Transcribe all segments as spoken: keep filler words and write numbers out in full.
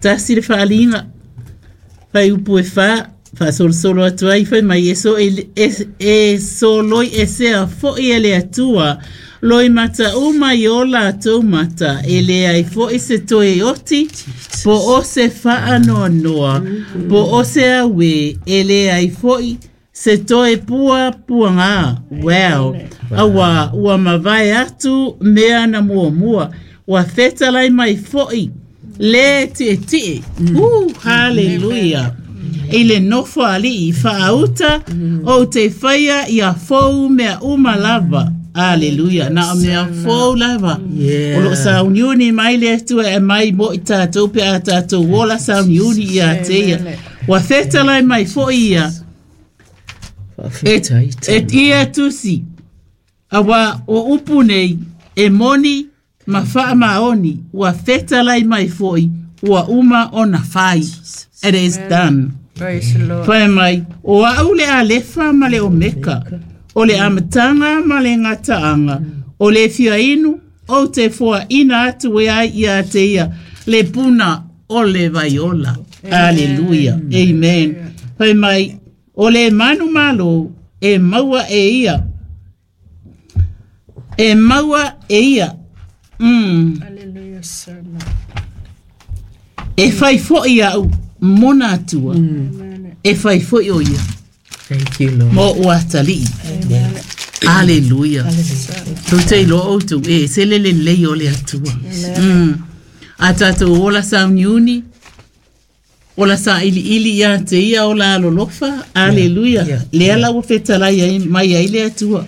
Tasi le faaaliga fuaiupu e fa faasolosolo atu ai fai mai e so e, e, e soloi esea foʻi e le Atua loimata uma i o latou mata e leai foʻi se toe oti po o se faanoanoa po o se auē e leai foʻi se toe puapuagā. Well, auā ua mavae atu mea na muamua. Ua fetalai mai foʻi le tiʻetiʻe. Mm. Haleluia. I le nofo alii faauta ou te faia ia fou mea uma lava. Aleluia. Na o mea fou lava. Yeah. O loo sauniuni mai le Atua e mai mo i tatou pe a tatou ola sauniuni ia te ia. Ua fetalai mai foʻi ia e, e ia tusi. Auā o upu nei e moni ma faamaoni ua fetalai mai foʻi ua uma ona fai. It is done. Praise the Lord. Fai mai, o a'u le Alefa ma le Omeka, o le amataga ma le gataaga, o le fia inu, ou te foaina atu e ai ia te ia, le puna o le vaiola. Aleluia. Amen. Fai mai, o le manumalo e maua e ia. E maua e ia. Mm. Hallelujah, sir. E fai foʻi a'u mona atua. E fai foʻi o ia. Thank you, Lord. Mo ua atalii. Aleluia. Tou te iloa outou e se le lelei o le Atua. Mm. A tatou ola sauniuni, ola sailiili ia te ia ola alolofa. Aleluia. Yeah. Lea la ua fetalai ai mai ai le Atua.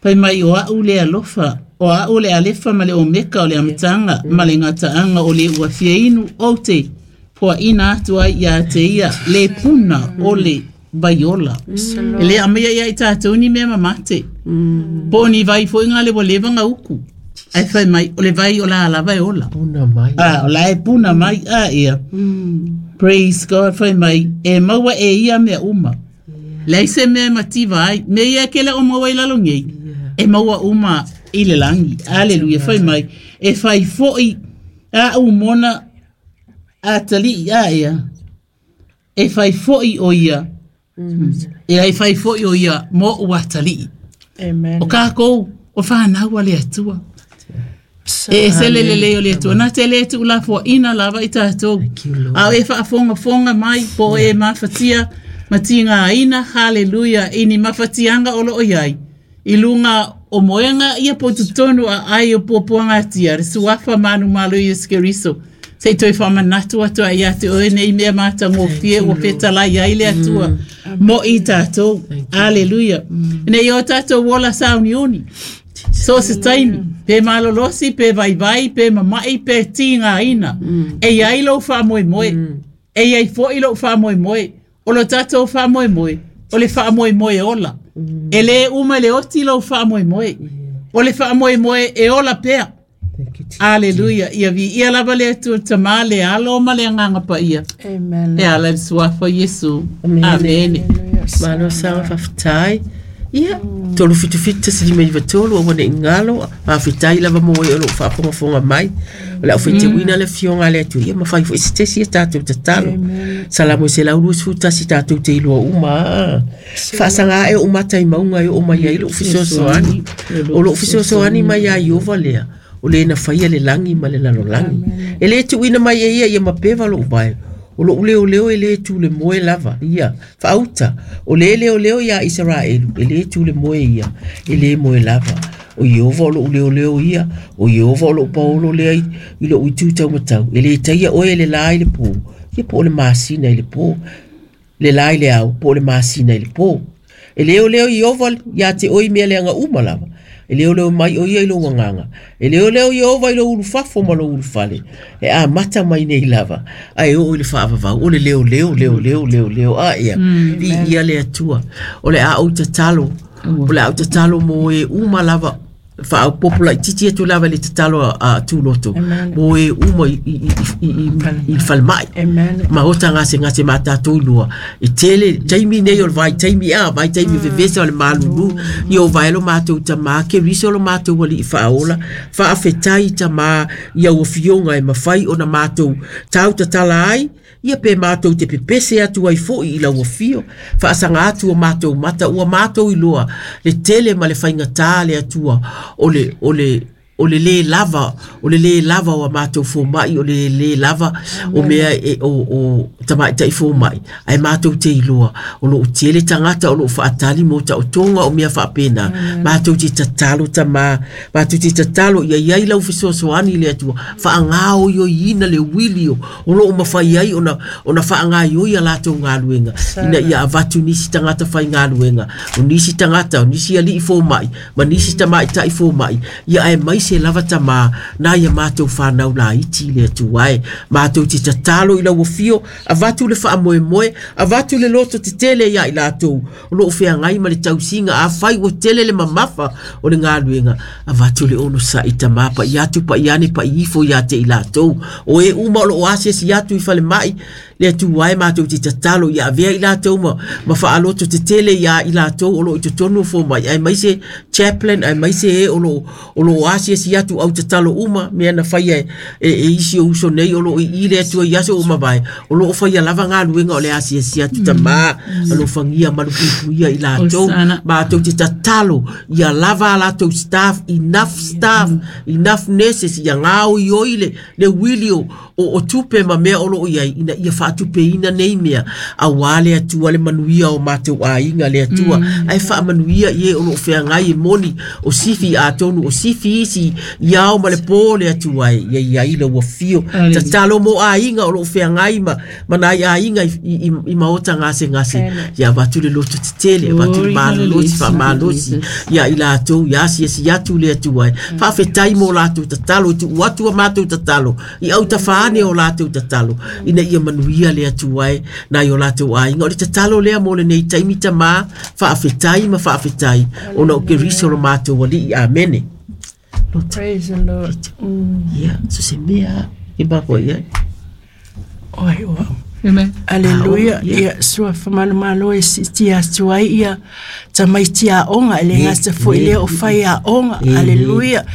Fai mai o a'u le alofa, o a'u le Alefa ma le Omeka o le amataga ma le gataaga o le ua fia inu ou te foaina atu ai ia te ia le puna o le vaiola. E le aumaia ia i tatou ni mea mamate. Po o ni vai foʻi ga le ua leva ga uku. Ae fai mai o le vai o la lava e ola. Puna mai. Ah, o la e puna mai a ia. Praise God, fai mai e maua e ia mea uma. Leai se mea e mativa ai. Mea ia ke le o maua i lalo nei. E maua uma i le lagi. Aleluia, fai mai. E fai foʻi a'u mona atalii a ia. E fai foʻi o ia. E ai fai foʻi o ia mo ua atalii. Amen. O kākou, o whanau a le Atua. E ese le lelei o le Atua. Na te le tu la foaina lava i tatou. Thank you, Lord. A o e faafogafoga mai po o e mafatia matigāina, haleluia, i ni mafatiaga o loo iai. I luga o moega ia po totonu a ai o puapuagatia, le suafa manumalo Iesu Keriso. Se i toe faamanatu atu ai ia te oe nei mea matagofie ua fetalai ai le Atua mo i tatou. Aleluia. Nei o tatou ola sauniuni. So se taimi, pe malolosi, pe vaivai, pe mamaʻi, pe tigāina. E iai lou faamoemoe. E iai foʻi lou faamoemoe. O lo tatou faamoemoe, o le faamoemoe ola. E lē uma i le oti lou faamoemoe. O le faamoemoe e ola pea. Thank you, Jesus. Aleluia. Ia viia lava le Atua Tamā le Alo ma le Agaga Paia. Amen. E ala i le suafa o Iesu. Amene. Amene. Hallelujah. Malo saga faafetai. Ia, tolu fitu fitu tasi lima iva tolu aua nei galo, faafetai lava mo e o loo faafogafoga mai. O le aufaitauina le afioga a le Atua, ia ma fai foʻi se tesi ia tatou tatalo. Salamo e selau luasefulu tasi tatou te iloa uma a. Faasaga ae ou mata i mauga e oo mai ai lou fesoasoani. O lou fesoasoani mai ia Ieova lea, o le na faia le lagi ma le lalolagi. E lē tuuina mai e ia ia mapeva lou vae. O lou leoleo e lē tu le moe lava. Ia, faauta. O le leoleo ia Isaraelu, e lē tu le moe ia, e lē moe lava. O Ieova o lou leoleo ia, o Ieova o lou paolo lea i, i lou itu taumatau. E lē taia oe e le lā i le pō, ia po o le masina i le pō. Le lā i le ao, po o le masina i le pō. E leoleo Ieova ia te oe i mea leaga uma lava. E leoleo mai o ia i lou agaga. E leoleo Ieova i lou ulufafo ma lou ulufale. E amata mai nei lava. Ae oo i le faavavau. O le leoleo, leoleo, leoleo. A ia. Viia le Atua. O le a ou tatalo. O le a ou tatalo mo e uma lava. faaopopo laititi atu lava i le tatalo a Tuloto mo e uma i i i i falemai ma ota gasegase ma tatou lua e tele taimi nei o le vaitaimi a vaitaimi vevesa o le malulu i o vaelo matou tamā Keriso lo matou alii faaola faafetai tamā ia ua fioga e mafai ona matou tautatala ai ia pe matou te pepese atu ai fo'i i lau afio faasaga atu o matou mata ua matou iloa le tele ma le faigatā le Atua o le o le o le lē lava o le lē lava o a matou foma'i o le lē lava o mea e o o tamaita'i foma'i ae matou te iloa o loo tele tagata o loo faatali mo taotoga o mea faapena matou te tatalo tamā matou te tatalo ia iai lau fesoasoani le Atua faagaoioiina le uili o o loo mafai ai ona ona faagaioi a latou galuega ina ia avatu nisi tagata faigaluega o nisi tagata o nisi alii foma'i ma nisi tamaita'i foma'i ia ae mai se lava tamā na ia matou whanau laiti le Atua e matou te tatalo i lau afio avatu le faamoemoe avatu le loto tetele ia i latou o loo feagai ma le tausiga afai ua tele le mamafa o le galuega avatu le onosa'i tamā pa'i atu pa'i ane pa'i ifo ia te i latou o e uma o loo asiasi atu i falemai le Atua e matou te tatalo ia avea i latou ma, ma faaloto tetele ia i latou o loo i totonu o fomai ae mai se chaplain ae mai se e o loo o loo asiasi atu au tatalo uma mea na faia e, e, e isi o uso nei o loo i i le Atua i aso o mavae o loo faia lava galuega o le asiasi atu tamā alofagia malupuipuia i latou matou te tatalo ia lava a latou staff enough staff enough nurses ia gaoioi le, le uili o, o, o tupe ma mea o loo iai ina ia faatupeina nei mea auā le Atua le manuia o matou aiga le Atua ae faamanuia i e o loo feagai e moni o sifi atonu o sifi isi i ao ma le pō le Atua e ia iai lau afio tatalo mo aiga o loo feagai ma, ma nai aiga i, i, i maota gasegase ia avatu le loto tetele avatu le malolosi faamalosi ia i latou ia asiasi atu le Atua e faafetai mo latou tatalo i tuu atu a matou tatalo i autafa ane o latou tatalo ina ia manuia le Atua e nai o latou aiga o le tatalo lea mo lenei taimi tamā faafetai ma faafetai ona o Keriso lo matou alii amene. Praise the Lord. Ia so se mea e mako ia Oi oi. Amen. Aleluia. Ah, oh, Ia sua whamalumalo e siti atu ai ia tamaiti aoga e le gata fo'i lea o fai aoga. Aleluia.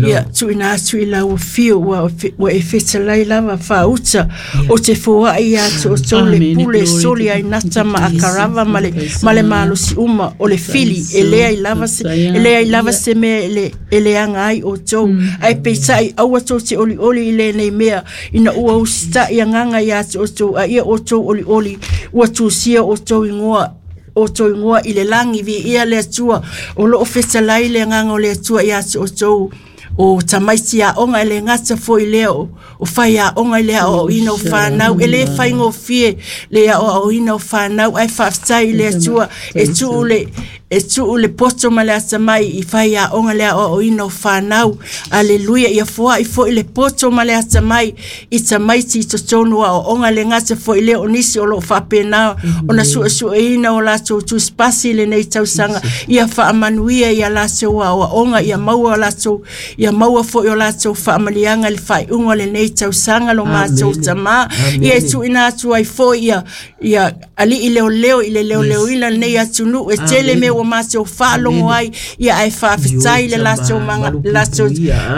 Ia tuuina atu i lau afio ua ua e fetalai lava faauta o te foa'i ia te outou le Amen. pule Glory to soli ai nata ma akarava ma le ma le malosi uma o le fili e lea i lava se e lea i lava se mea e le e leaga ai outou ae peitai aua tou te olioli i lenei mea ina ua usita'i agaga iā te outou a ia outou olioli ua tusia outou igoa outou igoa i le lagi viia le Atua o loo fetalai le agaga o le Atua iā te outou o tamaiti aoga e le gata fo'i lea o, o fai aoga i le aoaoina o fanau e lē faigofie le aoaoina o fanau ae faafetai i le Atua e tuu le e tuu le poto ma le atamai i fai aoga le aoaoina o fanau. Aleluia. Ia foa'i fo'i le poto ma le atamai i tamaiti i totonu o aoaoga le gata fo'i lea o nisi o loo faapena ona suesueina o latou tusipasi i lenei tausaga ia faamanuia ia latou aoaoga ia maua o latou ia maua fo'i o latou faamaliaga i le faaiuga o lenei tausaga lo matou tamā ia e tuuina atu ai fo'i ia ia alii leoleo i le leoleoina lenei atunuu e tele mea ua matou faalogo ai ia ae faafetai le latou maga latou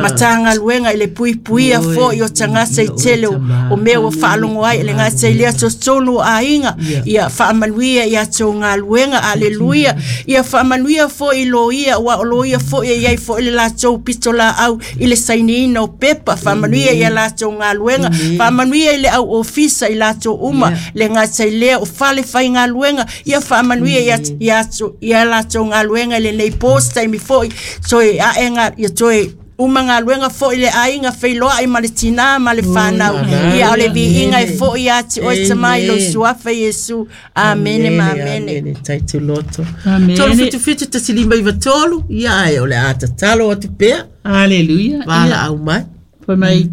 matagaluega i le puipuia fo'i o tagata i tele o, o mea ua faalogo ai i le gata i lea totonu o aiga ia faamanuia ia tou galuega. Aleluia. Ia faamanuia fo'i loia ua o loia fo'i e iai fo'i le latou pito laau i le sainiina o pepa faamanuia ia latou galuega faamanuia i le au ofisa i latou uma le gata i lea o fale faigaluega ia faamanuia ia ia ia latou galuega i lenei post taimi fo'i toe aega ia toe uma galuega fo'i le aiga feiloa'i ma le tinā ma le fanau ia o le viiga e fo'i ia te oe tamai lou suafa Iesu. Amene ma amene. Amene tai te loto. Amene. Tolu fitu fitu tasi lima iva tolu ia ae o le a tatalo atu pea Aleluia. vala au mai. Fai mai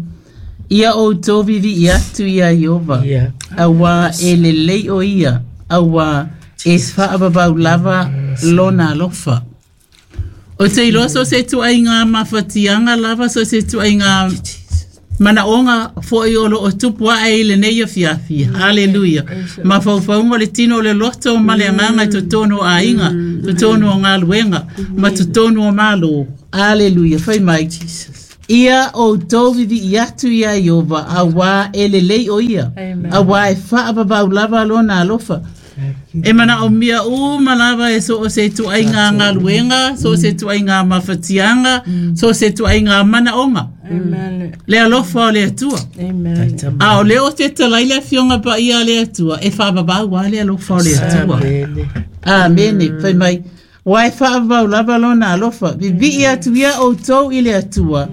ia outou vivi'i atu ia Ieova Ia. auā e lelei o ia auā e faavavau lava lona alofa. O te iloa so se tuaiga mafatiaga lava so se tuaiga manaoga foʻi o loo tupu aʻe i lenei afiafi. Aleluia. Mafaufauga o le tino o le loto ma le agaga i totonu o aiga, totonu o galuega ma totonu o malo. Aleluia. Fai mai. Ia outou viviʻi atu iā Iova auā e lelei o ia. Auā e faavavau lava lona alofa. E mana o mia uma lava e so o se tuaiga galuega, so o se tuaiga mafatiaga, so o se tuaiga manaoga. Amen. Le alofa o le Atua. Amen. A o le o te talai le afioga paia a le Atua, e faavavau a le alofa o le Atua. Amene. Amene. Fai mai. Uā e faavavau lava lona alofa. Viviʻi atu ia outou i le Atua.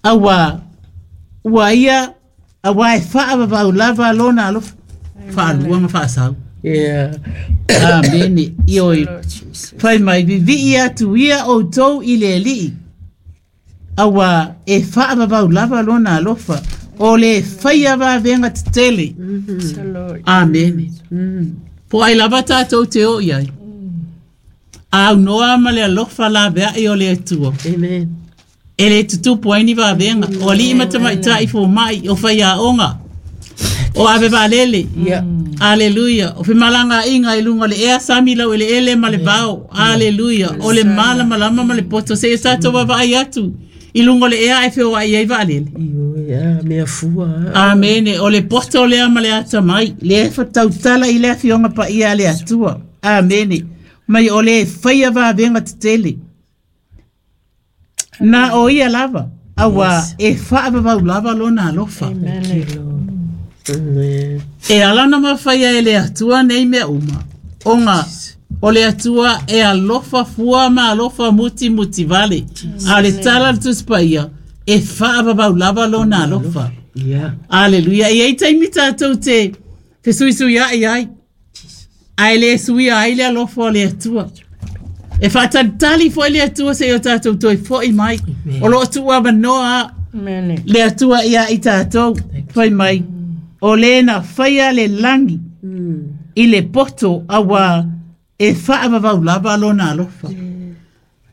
Auā ua ia auā e faavavau lava lona alofa. Faalua ma faasau. Yeah. Amene. Ioe. Lord Jesus. Fai mai viviʻi atu ia outou i le Alii. Auā e faavavau lava lona alofa. O le faia vavega tetele. So Lord. Amene. Po ai lava tātou te o iai. Au noa ma le alofa la veai o le Atua. Amen. E le tutupu ai ni vavenga. O alii matamaitai fo mai o whaiaonga. O ave valele. Yeah. Aleluia. O femalanga inga i lunga le ea sami lau ele ele ma le vao. Aleluia. O le mala malama ma le poto. Se e tātou wawai atu. I lunga le ea e whio ai ai valele. Ioe, ah, mea fua. Amene. O le poto lea ma le ata mai. Le e whatautala i le afioga paia a le Atua. Amene. Mai o le whaia vavenga tetele. Na o ia lava. Aua e whaavavau lava lona alofa. Amen. Amen. E alana mawhaia e le Atua nei mea uma. Onga, o le Atua e alofa fua ma alofa muti muti vale. A le tala le tuspaia, e whaavavau lava lona alofa. Yeah. Aleluia. E ei taimi tātou te, te suisui ai ai. Ai le suia ai le alofa o le Atua. E whaatalitali fo le Atua se o tātou toi foi mai. O loo tua manoa Amen. le Atua ia i tātou. Fai mai. O le na whaia le langi i le poto awa e whaavavau lava lona alofa.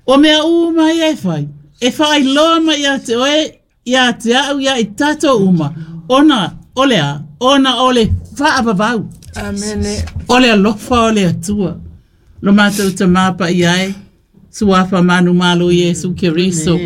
O mea uma ia e whai. E whai loa mai ia te oe, ia te au ia i tātou uma. Ona o le a, ona o le whaavavau. Amen. O le alofa o le Atua. Lo mātou te māpa i ai, suafa manu malo Iesu Keriso.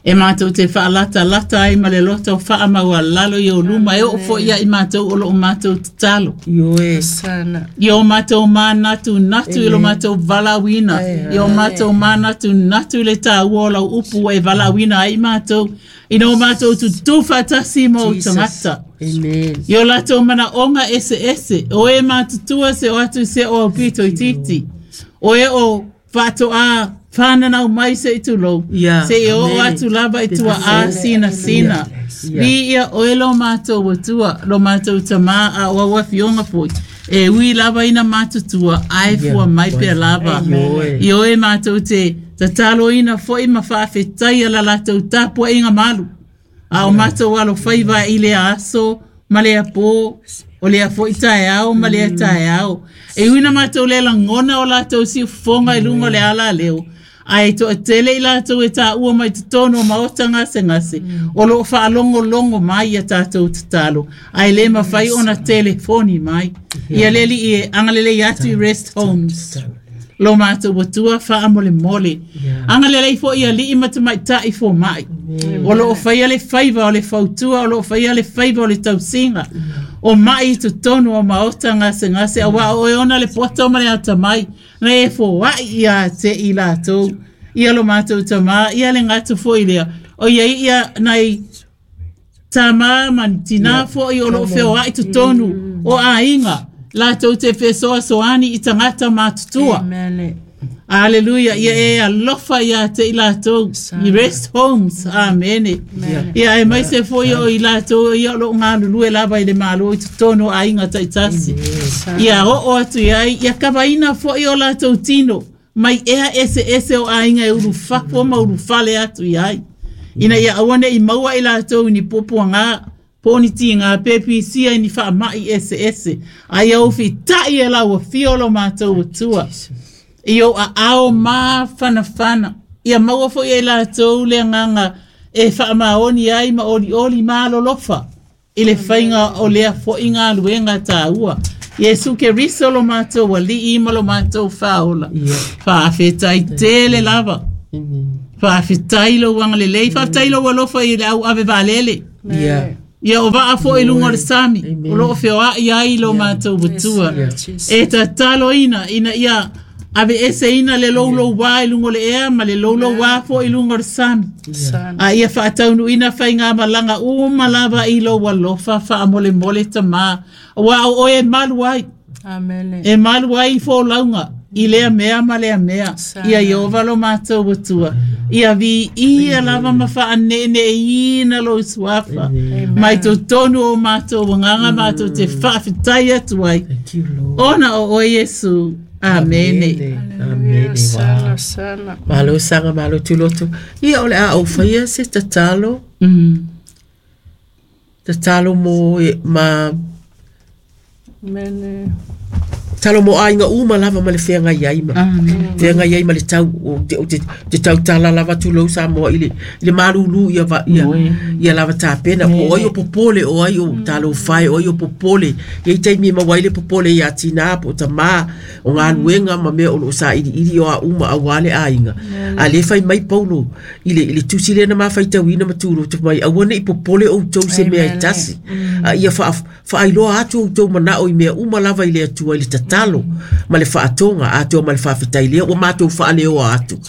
E mātou te whaalata lata ai ma le loto whaamau a lalo i o luma e o fo ia i mātou o lo o mātou tatalo. Ioe. Sana. I o mātou mānatu natu i lo mātou valawina. I o mātou mānatu natu le tā ua o lau upu e valawina ai mātou. I no mātou tutu whatasi mo tangata. Amen. I o latou mana onga ese ese. O e mātutua se o atu se o au pito i titi. O e o whato a whananau mai se i tūlou. Yeah, Se i o amen. atu lava i tua a sina sina. Yeah. Vi ia oe lo mātou watua, lo mātou tamā a o aua fionga foi. E ui lava ina mātutua, ai Yeah. fua mai pe lava. Ioe. I oe mātou te tatalo ina foi ma whaafetai ala latou tāpua inga malu. A o mātou alo whaiva i le aso, ma le apō, o le afo i taeao, ma le taeao. E uina mātou le langona o latou si ufonga i lunga o le ala leo. Ai to tele i latou e tā ua mai totonu o maota ngase ngase. O loo whaalongo longo mai ia tātou tatalo. Ai le mawhai ona telefoni mai. Ia leli i e angalele i atu i rest homes. Lo mātou watua wha mole mole. Yeah. Angalele i fo ia lii matamai tai fo mai. O loo whaia le whaiva o le fautua, o loo whaia le whaiva o le tausinga. O mai i totonu o maota ngase ngase, a wā o e ona le poto ma le ata mai. Na e fo wai ia te i lātou. Ia lo mātou tamā, ia le ngātu fo i lea. O ia ia nai tamā man tina fo i o loo whio ai totonu o ainga. Lātou te whesoa soani i tangata mātutua. Amen. Aleluia. Ia e alofa ia te i lātou. I rest homes. Amene. Ia e mai se foi o i lātou. Ia o lo ngā lulue lava i le malo i totonu a inga taitasi. Ia o o atu ia ia kawaina foi o lātou tino. Mai ea ese ese o ainga e uru whapo ma uru fale atu ia ai. Ina ia awane i maua i lātou ni popo ngā. Poni ti ngā pepi sia i ni wha mai ese ese. Ai au whitai e lau whiolo mātou atua. I o a ao mafanafana. Ia maua fo'i e latou le agaga e faamaoni ai ma olioli malolofa i le faiga o lea fo'i galuega tāua. Iesu Keriso lo matou alii ma lo matou faaola. Faafetai tele lava. Faafetai lou agalelei, faafetai lou alofa i le au ave vaalele. Ia o vaa fo'i luga o le sami, o loo feoa'i ai lo matou atua. E tataloina ina ia ave eseina le loulouā i luga o le ea ma le loulouā fo'i i luga o le sami. A ia faataunuuina faigamalaga uma lava i lou alofa faamolemole tamā. Auā o oe e malu ai. E malu ai i folauga i lea mea ma lea mea. Ia Ieova lo matou atua. Ia viia lava ma faaneeneeina lou suafa. Mai totonu o matou agaga matou te faafetai atu ai. Ona o oe Iesu. Amene. Amene. Sana, sana. Malo saga malo tuloto. Ia o le a ou faia se tatalo. Tatalo mo e, ma Amene. Talo mo aiga uma lava ma le feagai ai ma. Feagai ai ma le tau o te o te, te tautala lava tulou Samoa i le i le malulu ia va ia ia lava tapena po ai o popole o ai o talo fai o ai o popole ia i taimi ma wai le popole ia tina po tamā o galuega ma mea o loo sailiili o a uma auā le aiga a lē fai mai Paulo i le i le tusi lea na mafaitauina ma tuloto mai aua neʻi popole outou se mea e tasi a ia faa faailoa atu outou manao i mea uma lava i le Atua i le tatalo ma le faatoga atoa ma le faafetai lea ua matou faaleoa atu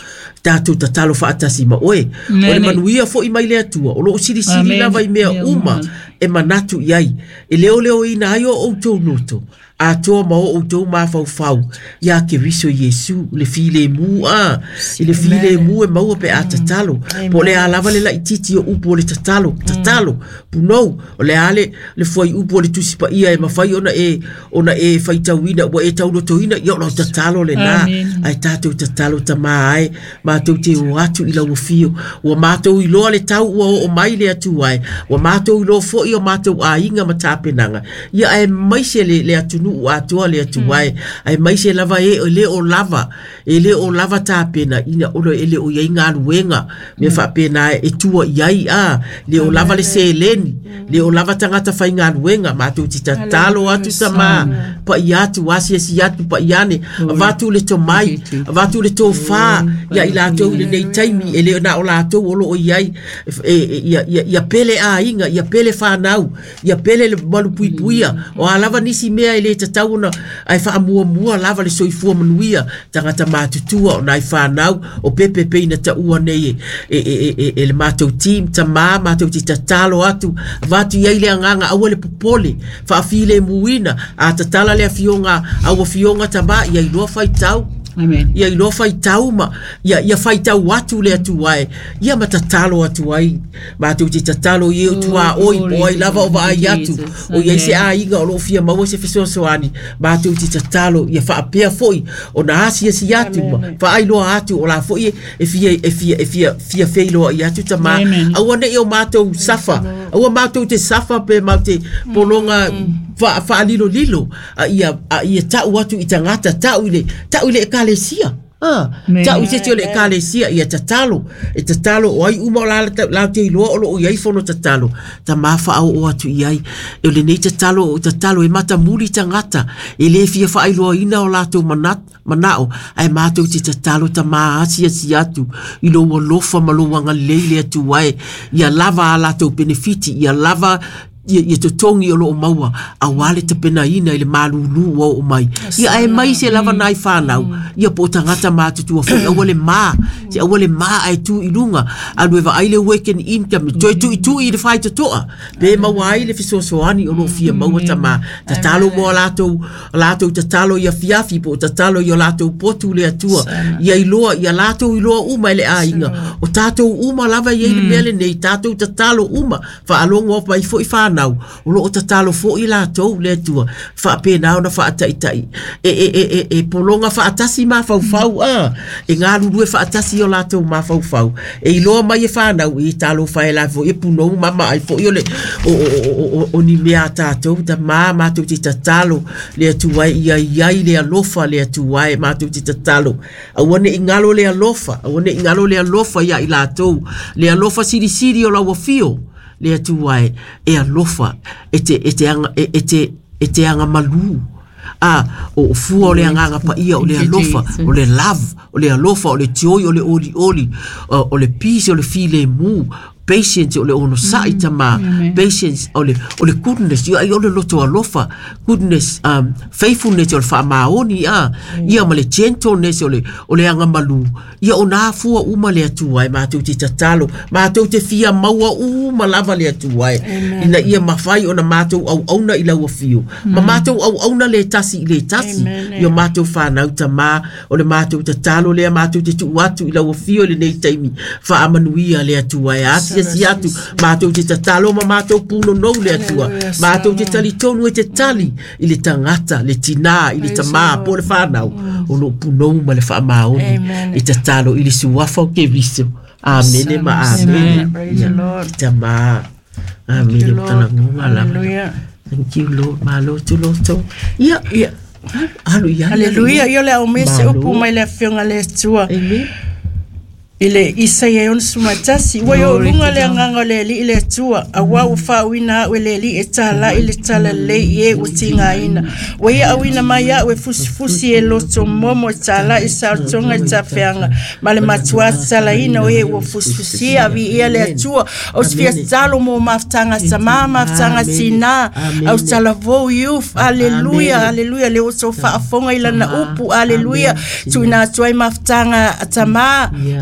tatou tatalo faatasi ma oe o le manuia fo'i mai le Atua o loo silisili lava i mea uma e manatu i ai e leoleoina ai o outou loto atoa ma o outou mafaufau ia Keriso Iesu le filemu a i le filemu e maua pe a tatalo po o le a lava le laititi o upu o le tatalo tatalo punou o le a le le foi upu o le tusi paia e mafai ona e ona e faitauina ua e taulotoina ia o lau tatalo lenā ae tatou tatalo tamā ai matou te o atu i lau afio ua matou iloa le tau ua oo mai le Atua ai ua matou iloa fo'i o matou aiga ma tapenaga ia ae maise le le atunuu atoa le Atua ai ae maise lava e le o lava e le o lava tapena ina o e le o iai galuega mea faapena e tua i ai a le o lava le seleni le o lava tagata faigaluega matou te tatalo atu tamā paia atu asiasi atu paiane avatu le tomai avatu le tofā ia i latou i lenei taimi e le na o latou o loo i ai ia ia ia pele aiga ia pele fanau ia pele le malupuipuia o a lava nisi mea e le tatau ona ae faamuamua lava le soifua manuia tagata matutua o nai fanau o pepepe ina taua nei e, e, e, e, le matou team tamā matou te tatalo atu avatu i ai le agaga aua le popole faafilemuina a tatala le afioga au afioga tamā ia iloa faitau. Amen. Ia iloa faitau ma ia ia faitau atu le Atua ai ia ma tatalo atu ai matou te tatalo i e tuā oi po ai lava o vaai atu o iai se aiga o loo fia maua se fesoasoani matou te tatalo ia faapea fo'i ona asiasi atu ma faailoa atu o la fo'i e fia e fia e fia fia feiloa'i atu tamā aua neʻi o matou safa aua matou te safa pe matou te pologa fa faalilolilo a ia a ia ta'u atu i tagata ta'u i le ta'u i le ekalesia ah ta'u i se isi o le ekalesia ia tatalo e tatalo o ai uma o la la te iloa o loo iai fono tatalo tamā faaoo atu i ai e o lenei tatalo o tatalo e matamuli tagata e lē fia faailoaina o latou manat manao ae matou te tatalo tamā asiasi atu i lou alofa ma lou agalelei le Atua e ia lava a latou penefiti ia lava ia, ia totogi o loo maua auā le tapenaina i le malūlū ua oo mai ia ae mai se lava nai fanau ia po o tagata matutua fo'i aua le mā se aua le mā ae tu i luga alu e vaai le weekend income toe tu'itu'i i le faitoto'a pe maua ai le fesoasoani o loo fia maua tamā tatalo mo a latou latou tatalo ia fiafi po o tatalo i o latou potu le Atua ia iloa ia latou iloa uma e le aiga o tatou uma lava iai le mea lenei tatou tatalo uma faalogo mai fo'i fanau whānau, o loo tatalo fo i lātou le Atua, whaapena ona whaataitai, e, e, e, e, e polonga whaatasi mafaufau, a, e ngā lulue whaatasi o lātou mafaufau, e iloa mai e whānau, e talo whae la fo, e punou mama ai fo, i o le, o, o, o, o, o ni mea tātou, ta mā mātou te tatalo, le Atua e ia iai le alofa le Atua e mātou te tatalo, aua ne ingalo le alofa, aua ne ingalo le alofa ia i lātou, le alofa sirisiri o lau afio, le Atua e, e alofa, e te, e te anga, e, e te, e te anga malu. A, o fua o le anganga pa ia o le alofa, o le love, o le alofa, o le joy, o le oli oli, o le peace, o le file mu, patience, o le ono sa'i tama, patience, o le, o le goodness, ia o le loto alofa, goodness, um, faithfulness, o le whaamaoni, a, ia ma le gentleness, o le, o le anga malu, ia o nā fua uma le Atua e, mātou te tatalo, mātou te fia maua uma lava le Atua e, ina ia mawhai o na mātou au auna i lau afio, ma mātou au auna le tasi i le tasi, ia mātou whanau tama, o le mātou tatalo lea, mātou te tuu atu i lau afio le nei taimi, whaamanuia le Atua e, ati si atu, mātou te tatalo ma mātou puno nou le Atua, mātou te tali tonu e te tali i le tangata, le tina, i le tamā, po le whanau, o lo punou ma le whaamaoni, i tatalo i le suafa o ke riso. Amene ma amene. Praise the Lord. Tamā. Amene o talangunga lava. Thank you, Lord. Malo tu loto. Ia, ia. Alu ia. Hallelujah. Ia le au mese upu mai le afionga le Atua. Amen. Ile Isaia e ono sumatasi, ua yo lunga le anganga le li le Atua, aua ua faauina au e le li e tala i le tala lei e ua tigaina. Ua ia auina mai au e fusifusi e loto momo e tala i saotoga i tafeaga, ma le matuā tatalaina o e ua fusifusia aviia le Atua, o se fia tatalo mo mafutaga tamā, mafutaga tinā, au talavou youth, aleluia, aleluia, le oso faafoga i lana upu, aleluia, tuuina atu ai mafutaga tamā,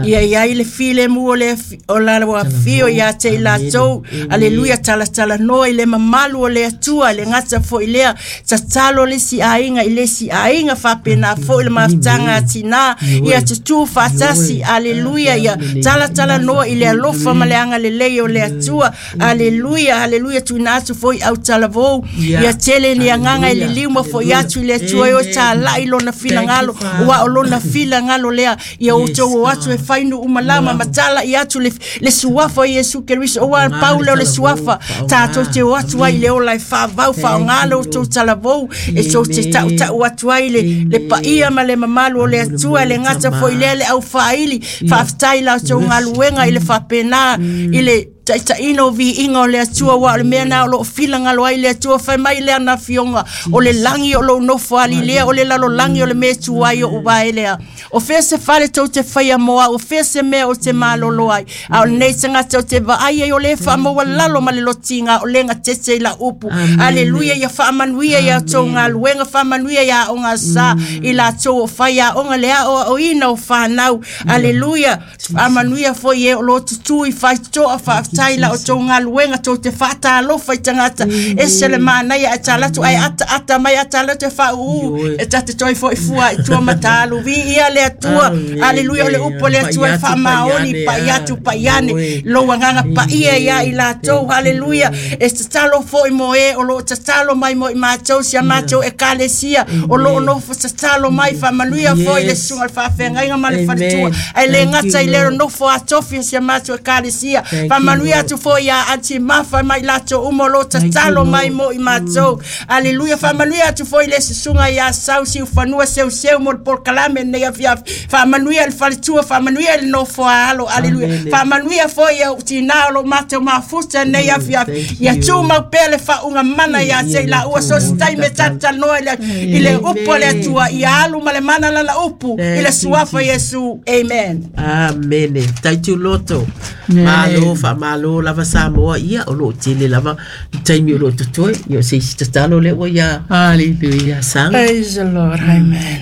ia ia i le file mu o le o la wa fio ia te i latou, aleluia, talatala noa i le mamalu o le Atua, le gata foi lea, tatalo le si aiga i le si aiga faapena foi le mafutaga a tinā, ia tutū faatasi, aleluia, ia talatala noa i le alofa ma le agalelei o le Atua, aleluia, aleluia, tuuina atu foi au talavou, ia tele ni agaga i le liuma foi atu i le Atua, e o talai lona filagalo, ua o lona filagalo lea, ia outou o atu e fai nu umalama matala i atu le, le suafa o Iesu Keriso, o a Paula o le suafa, tātou te o atu ai le ola e whaavau, whaongalo o tō talavou, e tō te tau tau atu ai le, le paia ma le mamalu o le Atua, le ngata foi lea le au whaili, whaaftai lau tō ngaluenga i le whapena, i le taitaina o viiga o le Atua, ua o le mea na o loo filagalo ai le Atua, fai mai lea na fioga o le lagi o lou nofo alilea, o le lalolagi o le mea tuai o uae lea. O fea se fale tou te faia moa, o fea se mea o te malolo ai, a o lenei tagata o te vaai ai o le faamaualalo ma le lotiga o lega tete i la upu. Aleluia, ia faamanuia ia tou galuega, faamanuia ia aoga sa i latou o fai aoga le aoaoina o fanau. Aleluia, faamanuia foi e o loo tutū i faitotoa, faafetai la o tou galuega, tou te faatalofa i tagata, ese le manaia e talatu ai ata ata mai atalatu e faauu, e tate toe foi fua i tua matalu viia le Atua. Aleluia, o le upu le Atua e faamaoni pai atu pai ane lou agaga paia ia i latou. Aleluia, e tatalo foi mo e o loo tatalo mai mo i matou, si a matou ekalesia o loo nofo tatalo mai, faamanuia foi le susuga le faafeagaiga ma le faletua, ae le gata i le nofo atofi si a matou ekalesia, faamanuia atu foi ia anti mafa mai latou uma o loo tatalo mai mo i matou. Aleluia, faamanuia atu foi le susuga ia sau siufanua seuseu mo le polokalame nei afiafi, faamanuia le faletua, faamanuia le nofo alo. Aleluia, faamanuia foi ia tinā o loo matou mafuta nei afiafi, ia tumau pea le faaugamana ia te i laua, so se taimi e tatalanoa i le upu a le Atua, ia alu ma le mana lana upu i le suafa Iesu. Amen. Amene. Taitu loto. Malo, whaamalo lava Samoa ia o loo tele lava taimi o loo totoe, ia o se isi tatalo le ua ia. Hallelujah. Sang. Praise the Lord. Amen.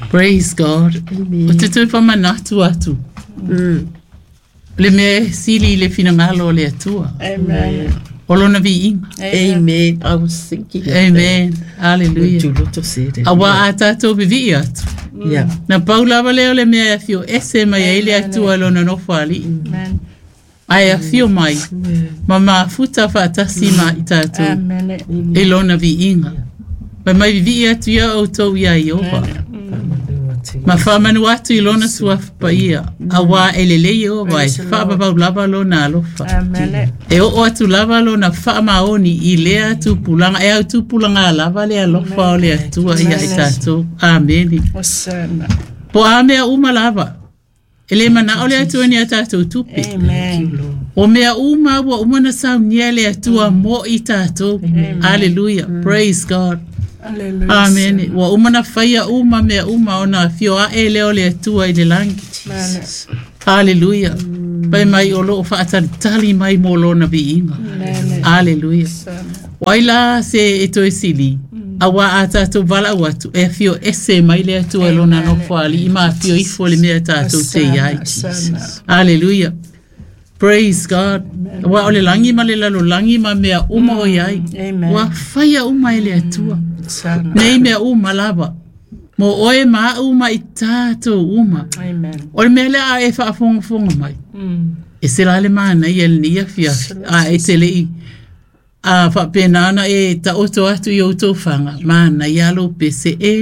Praise God. Amen. O te tui whamanatu atu. Mm. Le mea sili i le finangalo o le Atua. Amen. O lona viiga. Amen. I was thinking of Amen. that. Hallelujah. Tuloto se re. Aua a tātou vivii atu. Yeah. Na pau lava lea o le mea e afio ese mai ai le Atua lona nofo alii. Amen. Ae afio mai ma mafuta faatasi ma i tatou Amene. e lona viiga. Fai mai vivii atu ia outou iā Ieova. Ma faamanu atu i lona suafa paia, auā e lelei Ieova e faavavau lava lona alofa. Amene. E oo atu lava lona faamaoni i lea tupulaga e au tupulaga lava le alofa o le Atua ia i tatou. Amene. Osana. Po a mea uma lava. E le manao le Atua ni a tatou tupe. Amen. O mea uma ua uma na saunia le Atua mo i tatou. Hallelujah. Praise God. Hallelujah. Amen. Ua uma na faia uma mea uma ona afio ae lea o le Atua i le lagi. Amen. Hallelujah. Pai mai o loo faatalitali mai mo lona viiga. Amen. Hallelujah. Osana. Wai la se e toe sili. Auā a tatou valaau atu e afio ese mai le Atua i lona nofoalii ma afio ifo le mea tatou te iai. Osana. Hallelujah. Praise God. Ua o le lagi ma le lalolagi ma mea uma o iai. Amen. Ua faia uma e le Atua. Osana. Nei mea uma lava. Mo oe ma au ma i tatou uma. Amen. O le mea lea a e faafogafoga mai. Mm. E se la le manaia lenei afiafi. A e te lei a faapena ona e taoto atu i outou faga manaia lou pese e